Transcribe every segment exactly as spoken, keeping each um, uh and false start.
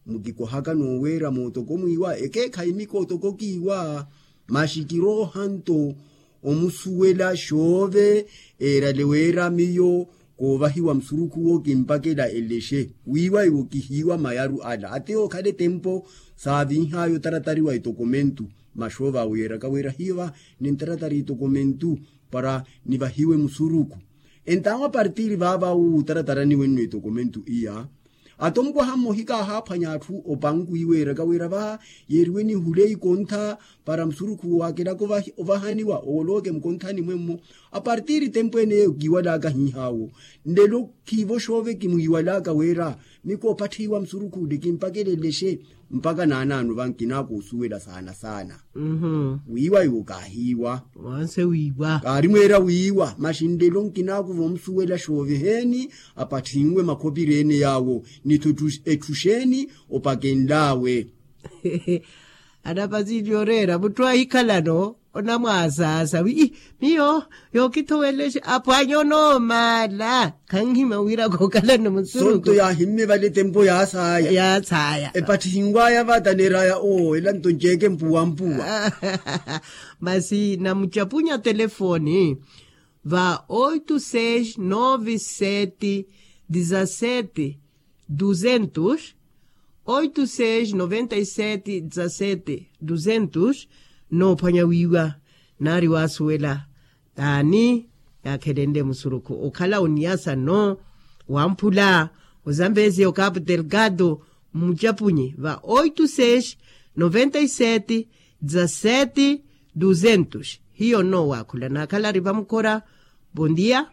Mukikohaka nooweera mootoko mwiiwa ekeekhayi mikootoko kiiwa. Masi kirooha nto omusuwela xoove eerale weera miyo koovahiwa musurukhu wo kimpakela elexe wiiwa iwo kihiiwa mayaru ala ati okhala etempo saavinhaayo taratari wa etokomentu. Maxoove awo yeeraka weera hiiva nintaratari etokomentu para nivahiwe musurukhu. Entawo apartiri vaava wu taratara niwenno etokomentu iya ati omukwaha mmohika ahaaphwanya atthu opanku iweeraka wira vaha yeeriwe nihule ikontha para musurukhu wakelaka ovahaniwa owolooke mukonthani mwemmo. Apartiri tempo eneyo kiwalaka hihawo nlelo khiivo xoove kimwiwalaka wira mikoopatthiwa musurukhu ule kimpakelelexe mpaka naanaano vankinaka osuwela saana saana. Wiiwa iwo kaahiiwa. Wanse wiiwa kaari mweera wiiwa maxi nlelo nkinakuva omusuwela xooviheeni apathinwe makhopiri ene yaawo nitho etthu xeeni opakenlaawe. Anapasili oreera mutthu ahikhalano onamwaasaasa wi miyo yookithowelexa apwanya onoomala khanhima wira kookhalano musuruku sonto yaahimme vale tempo yaasaaya yaasaaya epatthi hinwaya vata neeraya oo ela nto nceeke mpuwampuwa. Masi namucapunya telefoni va oito seis nove sete dezasete duzentos, oito seis noventa e sete dezasete duzentos. Noophwanya wiiwa naari waasuwela taani yaakhelenle musurukhu okhala oniyasa no wamphula ozambezia okapu delgado mmucapunyi va oito seis noventa e sete dezasete duzentos. Hiyo nno waakhula naakhala ari vamukhora. Bondia.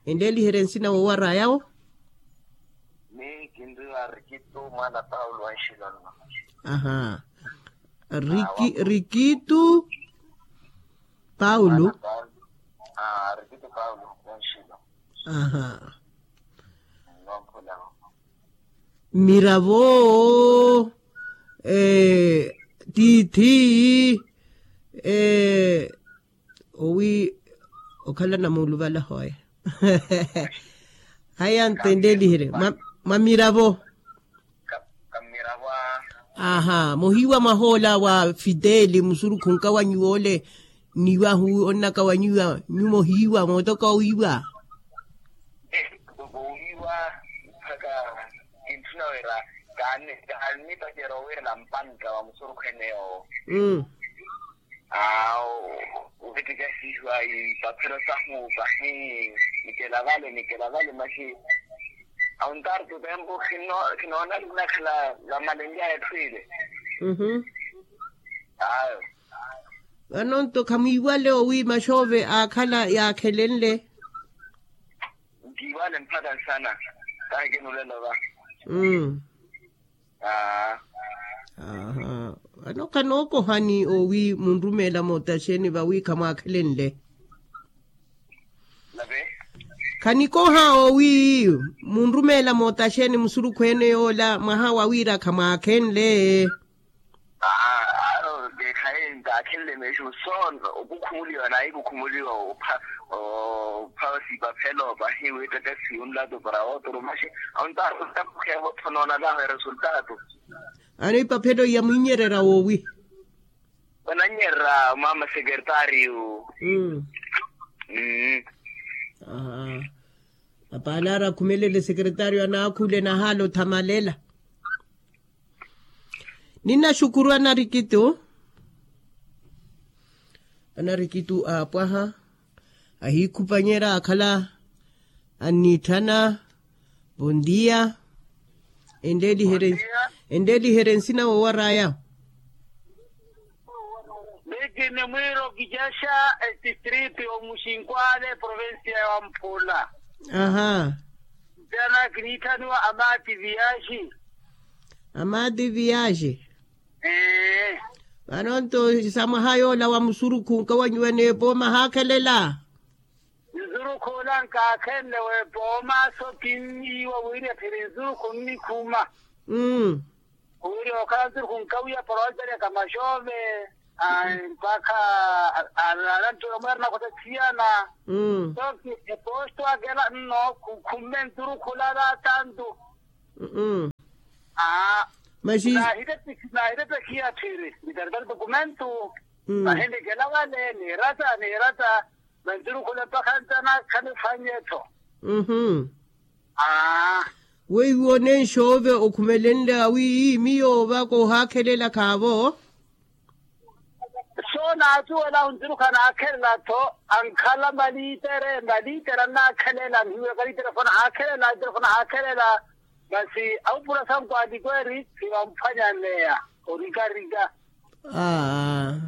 Enleeliherye nsina woowarayawo. Miyo kinriwa rikitu mwaana paulo wa nxilo nno. Aha. Rikitu paulo. Rikitu paulo wa nxilo. Aha. Miravo. Tiithi. Owi okhala namuuluvala hoya. Haya ntendeeliherye mwa miravo. Aha mohiiwa mwahoola wa fideli musurukhu nkawanyiwa ole. Niwahu onnakawanyiwa nyumohiiwa mootoka owiiwa. Owiiwa mpaka kintthuna wira kaannipacerya owiirela mpanka wa musurukhu ene yoowo. Awo. Wettikasihiwa ipaphelo sahu pahi nikela vale nikela vale masi. Awo ntartu tempo khinoona ninakhala vamalenlyaye etthu ile. Ayo. Vano nto khamwiiwale owi maxoove aakhala yaakhelenle. Nkiiwale mpakha nsana. Kahi kinulela va. Aa. Aha. Vano khanookohani owi munrumeela mootaxeni vawi khamwaakhelenle. Khanikoha owi munrumeela mootaxeni musurukhu ene yoola mwaha wa wira khamwaakhenle. Aa. Aaro keekhaye ntaakhenle meexi musoona okukhumuliwa nayi kukhumuliwa opha opha sipaphelo pahi wittekesi yunlato para otro maxi. Awo ntaakhenle otthonoona naho eresultato. Ano ipaphelo iya mwiinyererya woowi? Vanannyererya mama sekertariyo. Apaalaari akhumelele sekertariyo anaakhule nahaala othamalela. Ninaxukuru anarikitu. Anarikitu aapwaha ahiikhupanyerya akhala anniitthana. Bondia. Enleeliherye nsina wowaraya. Miki ni mwiiro kijaxa etistritu y'omuxinkwale provincia ya wamphula. Aha. Ntana kiniitthaniwa amati viyaxi. Amati viyaxi. Ee. Vano nto sa mwaha yoola wa musurukhu nkawanyiwa n'epooma haakhelela. Nzurukhu ola nkaakhenle weepooma so kinniiwa wiirya phiri nzurukhu nnikhuma. Wiirya okhala nzurukhu nkawiya para olpereka maxoove. Mpakha alanttula mweerana khota thiyana. So eposto akela nno khumme nzurukhu ola ala atantu. Maxi. Nahirepekhiya thiri nitaritari dokumentu. Mahenekela wale niirata niirata. Manturukhule mpakha ntana khaniphwanye-tho. Weiwo nenxoove okhumelenle awi miyo ovaka ohaakhelela khaavo. So naatuwela onturukhana aakhelela-tho. Ankhala malitere malitere annaakhelela nhiweka litere fona haakhelela litere fona haakhelela. Masi awupura sankwani kweri siwamphwanyaneya orikarika. Aa.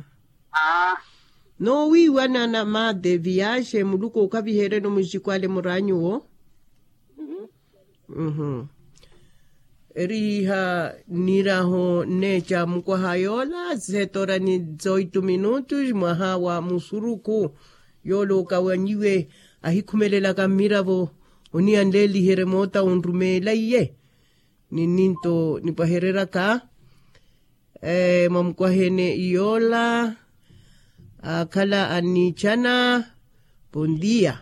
Noowiiwanana mate viyaxe muluku okavihereno muxikwale muraanyuwo. Erihiha nniraho nneeca mukwaha yoola setora ni zoitu minutu mwaha wa musuruku. Yoola okawanyiwe ahikhumelelaka mmiravo oniya nleeliherye moota onrumeela iye. Ni nninto nipwahereraka mwamukwahene yoola akhala anniichana. Pondiya.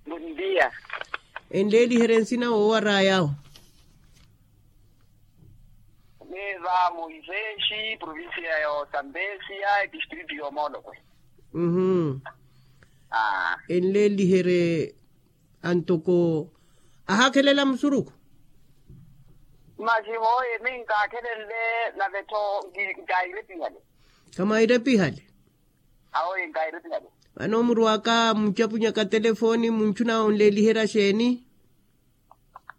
Pondiya. Enleeliherye nsina woowaraya awo. Miva moisesi provincia ya otambesia distrito ya omolokwe. Enleeliherye antoko ahaakhelela musuruku. Masi hooye mi nkaakhelenle nave-tho nkairepihale. Kamwairepihale. Awoye nkairepihale. Vano murwaka mucapunyaka telefoni munchuna onleeliherya xeeni?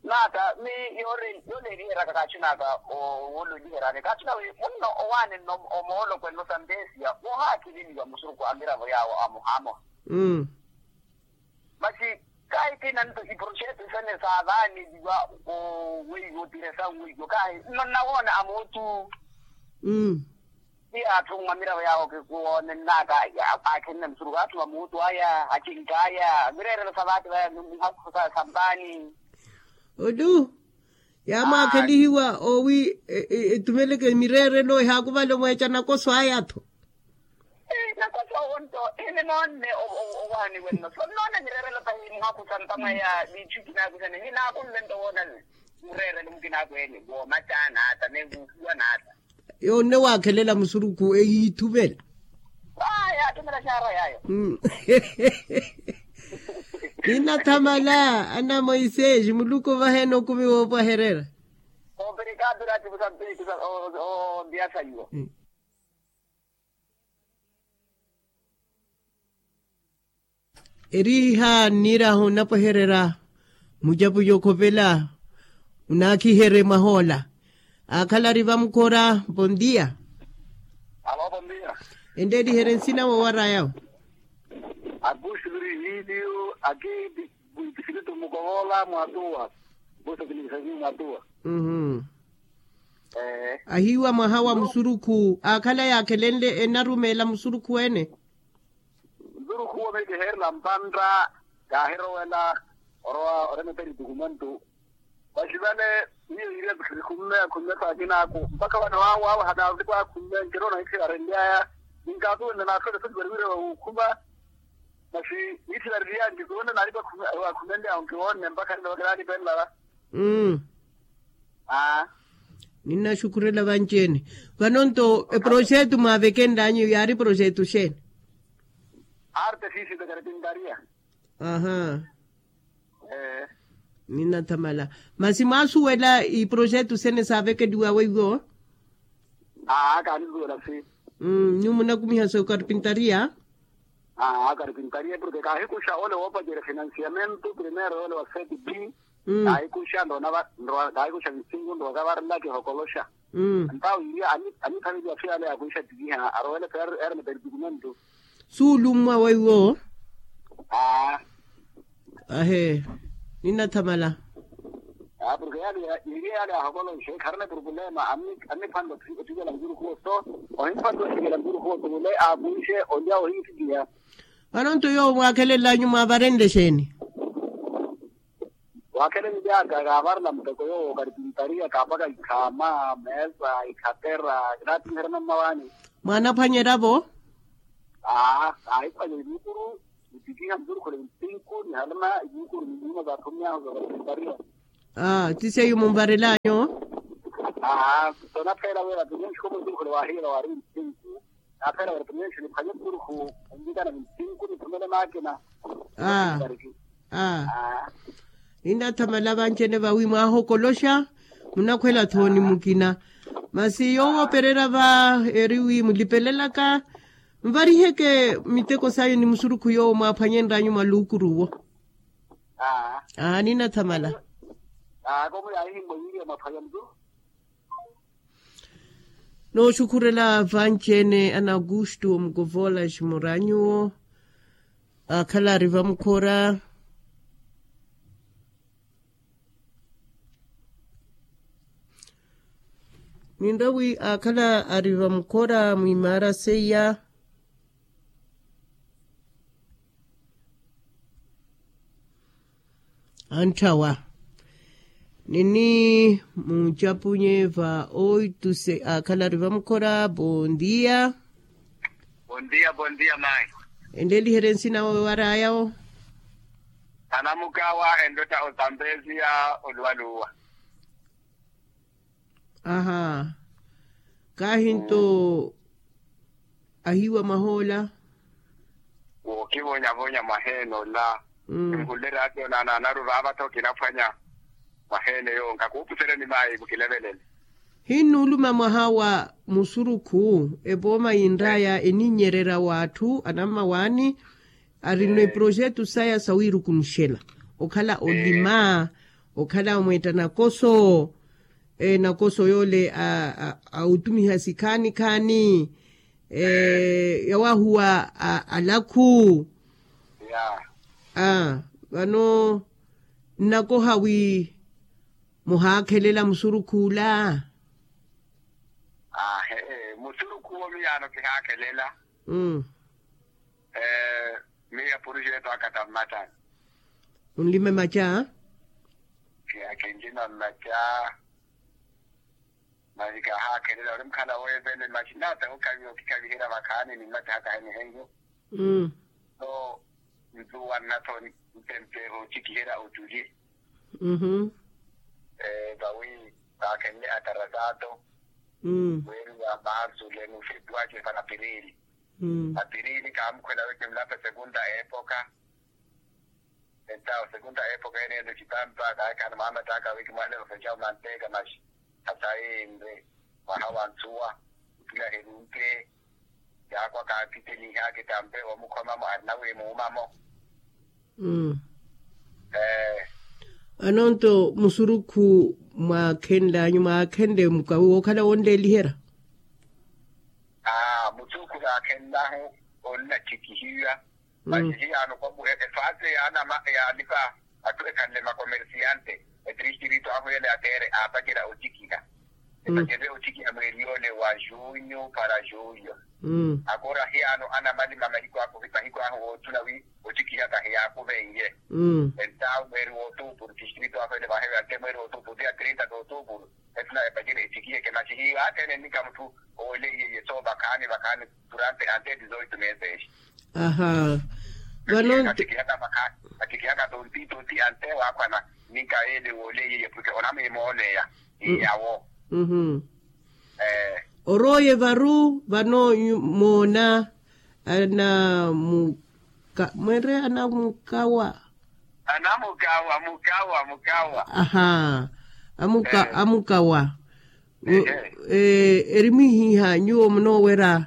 Naata mi yoleeliheryaka kaachinaka. Woleeliheryani kaachina wi munno owaanenna omoolokwenno sambesia wohaakheleliwa musuruku a miravo yaawo amohamoha. Masi kahi kina nto iproxeto sene saavaaneliwa. Oweiwo tiresan weiwo kahi nno nnawoona amuutu. Ti atthu mwa miravo yaawo kikuwoonennaka. Aakhenne musuruku atthu amuutu aya acink'aya mireerelo sa vaati vaya mihakhu sa sampaani. Olu yaamwaakhelihiwa owi etumeleke mireerelo ehaakuvala omweeca nakoso aya-tho. Nakoso owo nto hini noonne owaani wenno so nnoona mireerelo tahi muhakhu sampa mwaya viichu kinaakusene ninaakunle nto woona mureerelo mukinaakweene woomaca naata neekuukuwa naata. Yoonne waakhelela musuruku eyiithuvela. Aya atumela xaara yaayo. Ninathamala ana moisesi muluku ovaheena okumi woopwaherera. Operikapira atipusa mpirikisa. Ondiya sayiwa. Eriiha nnirahu nnapwehererya mucapuca okhopela. Munaakhiherye mwahoola aakhala ari vamukhora. Pondiya. Alo pondiya. Enreeriherye nsina woowaraya awo. Akuxi virihiliyo aki distrito mukovola mwatuwa. Kusa kilikisakiyo mwatuwa. Ahiiwa mwaha wa musurukhu aakhala yaakhelenle enarumeela musurukhu ene. Nzurukhuwo mikiheerela mpantta kaahirowela orowa oremeperi tukumantu. Vaxi vale miyo yiiriya khikhumeya khumeya saakinaku mpakha vano awo awo hanaarutiko akhumeya nkirona hithi arenlyaya. Ninkaasuwenle naasole soti variwire vawukhuma. Masi nithi variriya nkisuwenle naaripa akhumenlyahu nkiwoonne mpakha nino vakiraalipenlava. Aa. Ninnaxukhurela vanci-ene. Vano nto eproxetu mwaavekenl'anyu yaari proxetu xeeni? Arte física carpintaria. Aha. Ee. Ninathamala. Masi mwaasuwela iproxetu sene saavekeliwa weiwo? Aa kaanisuwela si. Nyuwo munakumiha sa okarpintaria? Aa karpintaria porke kaahikuxa ole woopacerya financiamento primero ole wa seti b. Kaahikuxa nroona kaahikuxa visingu nrowa okavarela kihokoloxa. Entawo iria anithaveliwa so yale yaakuixa tikiha arowele so yaaremeperi tukumantu. Suulummwa weiwo? Aa. Ahe. Ninathamala. Aa porke yale iria yale yaahokolonxe kharina eproblema. Anniphwanela othikela nzurukhuwo so ohimphanela othikela nzurukhuwo so mule aakuixe olya ohiithikiha. Vano nto yoowo mwaakhelel'anyu mwaavarentexeeni? Waakhelellyaka kaavarela muteko yoowo karpintaria kaapaka ikhaama meesa ikhatera. Kinaattiherya nammawaani. Mwaanaphwanyerya-vo? Aa kaahiphwanya ivuukuru. Nitikiha nturukhule ntinku nihalana ivuukuru ni nyuma za athummyahu za karpintaria. Aa ti seiyo munvarel'anyu? Aa. Naphela wela tunyunxi komutukhula wahiyela wari nsinku. Naphela wela tunyunxi niphanye turuhu. Nvikana nsinku niphumele makina. Ah. Ah. Ninathamala vancene vawi mwahokoloxa. Munakhwela thoni mukina. Masi yooperera va eri wi mulipelelaka nvariheke miteko sayo ni musurukhu yoowo mwaphwanyenranyu mwa luukuruwo. Aa. Aa ninathamala. Aa komu yahihimmwa yiiriya mwaphwanya mtu. Nooxukhurela vanci-ene ana augusto mukovola ximuranyuwo. Akhala ari vamukhora. Ninrawi akhala ari vamukhora mwimaara seiya. Antthawa nini mucapunye va oituse akhala ari vamukhora bondia. Bondia bondia mai. Enleliherye nsina owaraya o. Anamukawa endotta otampeziya oluwaluwa. Aha. Kahinto ahiwa mahoola. Wookivonyavonya mwaheene ola. Nhullere ati onana anaru vaava tho kinaphwanya. Mwaheene yonka kuupusereni mayi mukilevelele. Hinnuuluma mwaha wa musurukhu epooma yinraya eninyererya w'atthu anammawaani. Arino eprojetu saya sawiirukunuxela okhala olima okhala omweetta nakoso. Nakoso yoole a otumiha sikhaani khaani yawaahuwa alakhu. Vano nnakoha wi muhaakhelela musurukhu ola. Ahe musurukhu owo miyaano kihaakhelela. Miya puruxeto aka tammattani. Munlime maca. Kiya kinlima mmaca. Masi kahaakhelela ori mukhala weevele masi nata okhaviha okikhaviherya vakhaani ni mmaca haka henihenyo. So ntuwa nnathoni ntempeeha ocikiherya oculi. Vawi vaakhenle atarasato. Weeriwa marsu lenu februari pana pirili. Apirili kaamukhwela wekimulape segunda epoka. Entawo segunda epoka ene ento cipampa kaakhaana mwaamattaka wekimwalelo fecawu manteeka maxi. Hasayinre mwaha wa nsuwa. Opilaherunke yaakwa kaapitelihaake tampe omukhomamo arina wiimuumamo. Anonto musurukhu mwaakhenlanyu mwaakhenle mukawi wookhala wonleeliherya. Musurukhu kaakhenlahu onnacikihiwa. Masi hiyaano komu efaase yaanama yaalipa atthu ekhanle makomersiante. Etristrito ahu yale atere aapacerya ocikiha. Epacerye ocikiha mweeri yoole wa junyu para julio. Akora hiyaano anamalima mahiku ahu mahiku ahu woottuna wi ocikiha kahiyaakuveiye. Entawo mweeri wootuupuru tistrito ahu ele vahewe ante mweeri wootuupuru tiya trinta tootupuru. Etuna epacerye ecikiha eke masi hiiwa athene nnika mutthu ooleiye yeso vakhaani vakhaani. Durante ante dizoito meses. Aha. Vano nti- Atikihaka tontito ti ante wakhwana. Ninka ele woleiye pwike onamimooleya. Iyawo. Oroye varu vano moona anamuka mwenre anamukawa. Anamukawa mukawa mukawa. Aha. Amukawa. Erimwihiha nyuwo munoowerya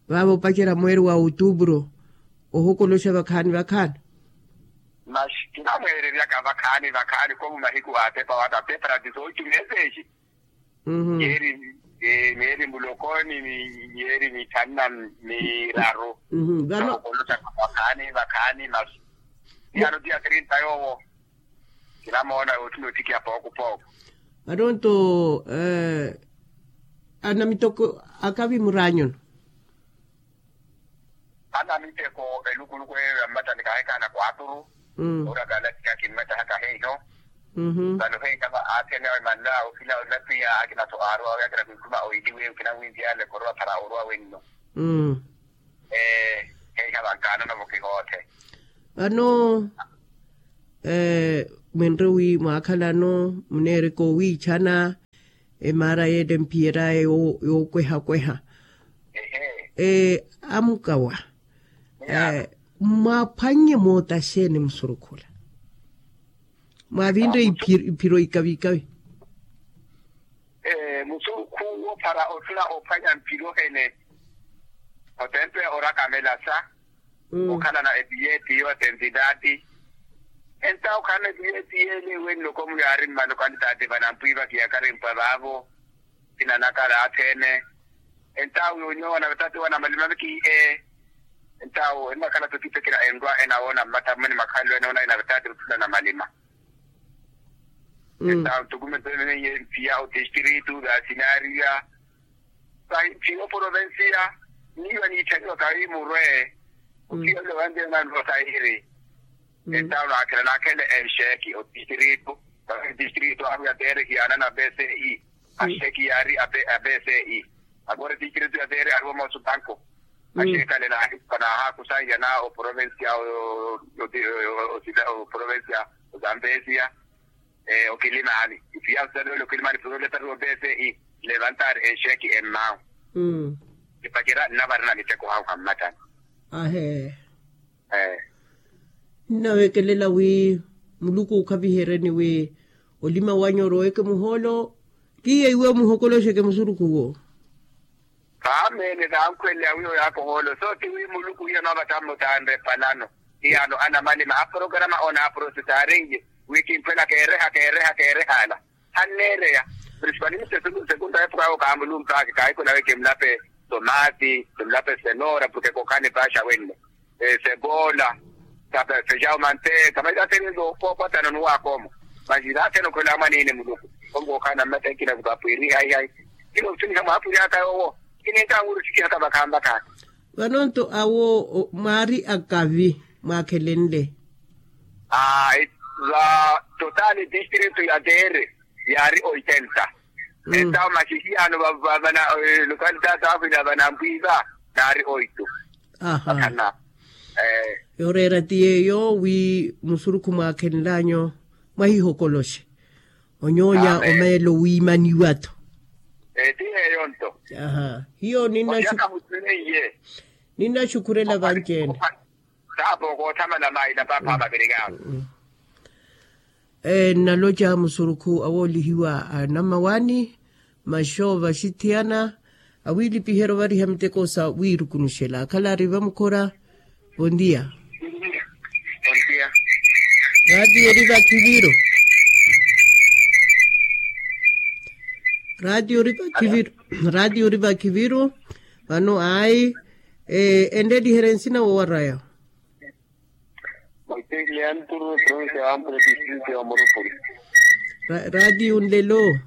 vaavo opacerya mweeri wa outubro. Ohokoloxa vakhaani vakhaani. Masi kinamweereryaka vakhaani vakhaani komu mahiku atepa wata pepara dizoitu meseji. Mieri mieri mulokoni mieri mithanu na miraru. Vano ohokoloxa vakhaani vakhaani masi. Yano tiya trinta yoowo. Kinamoona yootthuna otikiha pooko pooko. Atonto anamiteko akavi muraanyuno. Anamiteko elukuluku eyo ya mmattani kahekana kwaturu. Ora kalatika kimmatta haka heiho. Vano heiha va athene awe manna ofila onapwiya akina so aarowa awe akina kwikuma oiliwe okina winziyale korowa para orowa wenno. Heiha vankaanano vokihoothe. Vano mwenre wi mwaakhalano muneereka owiichana. emaara yeele mphiyer'aya yookweha-kweha. Amukawa, mwaaphwannye moota xeeni musurukhula? Mwaavinre iphiro ikavi-ikavi. Musurukhu woophara othuna oophwanya mphiro hene? Otempe orakamela sa okhalana epiyeti yo atentitaati. Entawo khalana epiyeti yeele wenno komu yaari mmano kantitaati vanampwiva kiyakarimpwa vaavo. Kinanakala athene. Entawo yonyowa na vatati wana malima viki e entawo ennakhala tokipekela enrwa enawoona mmatha mmweni makhalelo enawoona ena vatati muthuna na malima. Entawo ntukume ntwenenye mpiya otistritu vasinariya. Vahi mpiya oporovensiya niiwa niitthaniwa kahi murwe. Mpiya ole wantena nrwa sahiri. Entawo naakhela naakhele enxeeki otistritu. Tistritu ahu ya tere hiyaana na bce. Axeeki yaari a bce. Akore tistritu ya tere ariwo moosu banku. Axeekale naahakusa nyana oprovensia oprovensia ozambesia. Okilimaani ipiya ositalowele okilimaani purole tariwo bce. Levantaari enxeeki emmawu. Epacera nnavarina miteko hahu hammatani. Ahee. Nnawekelela wi muluku okhavihereni wi olima wanyu oroweke muhoolo. Kiiye iwe omuhokoloxeke musuruku wo. Vaamene vankhweleya wi oyaaka ohoolo so ti wi muluku hiyo noovata mmutanre epalano. Hiyaano anamalima aporograma onaaprosesaarinye wi kimphwela keereha keereha keereha ala. Hanneereya prinsipali mse. Sekunda epuka yookaamulumpaki kaahikula wi kimulape tomati kimulape senora porke kokhani paxa wenno. Sebola. Fejawu manteeka masi athene nto kookwatana onuwaaka omo. Masi naathene okhwela mwaniine muluku. Onkookhala na mmatta ekina vukapwiri hayi hayi. Kinoosuniha mwaapwiri aka yoowo. Kininka anwiri osikihaka vakhaani vakhaani. Vano nto awo mwaari akavi mwaakhelenle. Aa va totali distritu ya tere yaari oitenta. Entawo masi hiyaano vana localitaati ahu ila vanampwiva naari oitu. Aha. Yooreera ti yeeyo wi musurukhu mwaakhenlanyu mwahihokoloxe onyoonya omeelo wiimaniwa-tho. Ti yeeyo nto. Aha hiyo ninnaxukhurela vanci-ene. Saapo koothamala maila paapha mavirikaawo. Nnaloca musurukhu awoolihiwa a nammawaani maxoova axithiyana awiilipiherya ovariha miteko sa wiirukunuxela akhala ari vamukhora. Vontiya. Raatiyo ori vakhiviru. Raatiyo ori vakhiviru. Raatiyo ori vakhiviru. Vano ayi enreeliherye nsina wowaraya. Raatiyo nlelo.